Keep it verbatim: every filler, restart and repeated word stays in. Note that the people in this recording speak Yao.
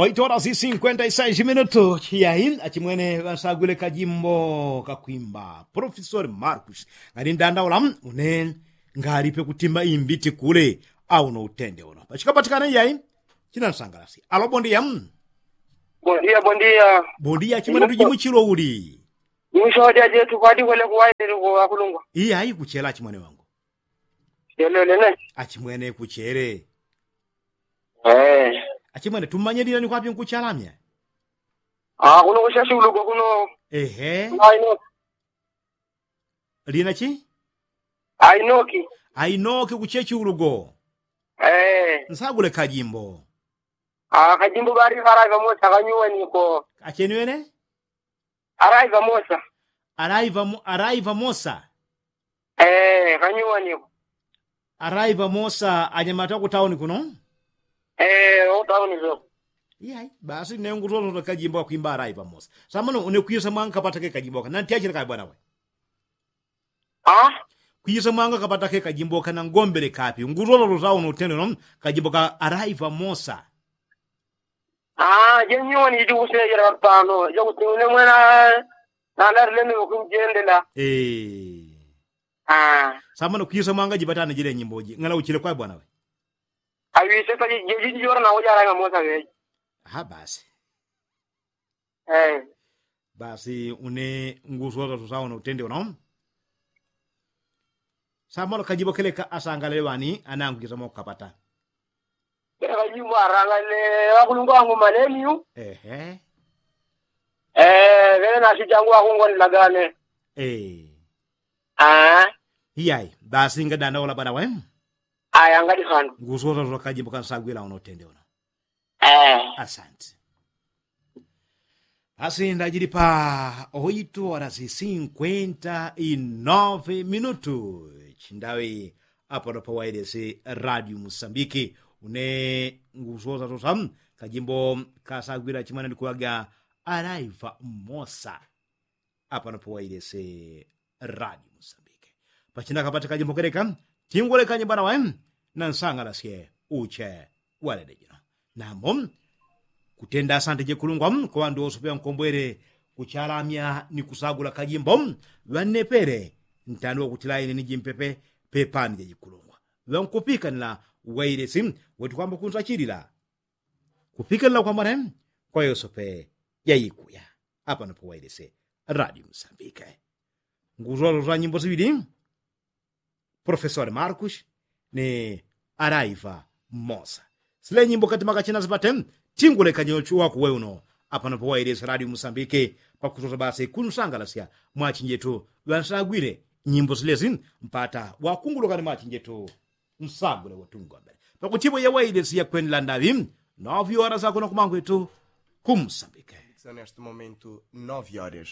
Oito horas y cinkwenta y sais minutu. Chiyai achimwene ŵansagwile kajimbo kakwimba profesori markus. Ngali ndandaula une ngali pekutimba imbiti kule. Au no utende uno pachikapatikana iyai. Chinansangalasi alo bondiya. Bondiya bondiya. Bondiya achimwene tujimuchilwa uli? Mwisho wadya jetu kwadikwele kuwaile kuwakulungwa. Iyai kuchela achimwene wangu. Chelelene. Achimwene kuchele. Achimwene tumanyelila ni kwapi nkuchalamya? Kuno kushashiuluko kuno. Ehe. Lina chi? Ainoki. Ainoki kuchechi ulugo. Nsagule kajimbo. Kajimbo bari karaiva mosa kanyuwaniko. Achenwene? Araiva mosa. Araiva mosa. Kanyuwaniko. Araiva mosa anyamata kutauni kuno. Kutauni so. Iyai basi nengutototo kajimbo kakwimba araiva mosa. Samano unekwisa mwanga kapata ke kajimbo kana ntiachile kae bwana we? Kwisa mwanga kapata ke kajimbo kana ngombele kapi ngutototo sauno utendeno. Kajimbo ka araiva mosa. Jenyiwani jiti kusejela pano jakuti unemwena nalarileme wakunjendela. Samano kwisa mwanga jipatane jile nyimboji ngala uchile kwae bwana we? Awisesa jejiji jora nawoja araiva mosa weji. Basi. Basi une ngusosa tusaona utende uno. Samolo kajibo keleka asangalele ŵani anangu jisamo kapata. Kajibo arangalele ŵakulungwa wangu malemiu. Ehe. Ŵele nasi jangu wakungonilagane. Iyai basi ngadanda wola bwana we. Aya ngali kanu ngusosa tusa kajibo kansagwila uno utende uno. Asante. Asi ndajili pa oito horas y cinkwenta y nove minutu chindawi. Apano pawailesi radio musambiki. Une ngusosa tusa kajimbo kasagwila chimwana ndikuwaga araiva mosa. Apano pawailesi radio musambiki. Pachina kapata kajimbo keleka tingulekanye bwana we. Nansangalasye uche walede jino. Nambo kutenda asante jekulungwa kwa ŵandu wose pyankombwele kuchalamya ni kusagula kajimbo. Ŵannepele ntandi wakutila ine ni jimpepe pepani jajikulungwa. Ŵankupikanila wailesi wetu kwamba kunsachilila kupikanila kwamba ne kwa yosepe jaikuya. Apano pawailesi radio musambiki. Ngutwalotwa nyimbo siŵili profesori markus ni araiva mosa. Sile nyimbo katima kachina sipate tingulekanye uchu wakuwe uno. Apano pawailesi radio musambiki pakusosa basi kunsangalasya mwachinjetu ŵansagwile nyimbo silesi mpata wakungulukane mwachinjetu. Nsagule watungombele pakutipo yawailesi yakwenela ndaŵi. Novyora sakuno kumangwetu kumusambiki. Neste momento nove horas.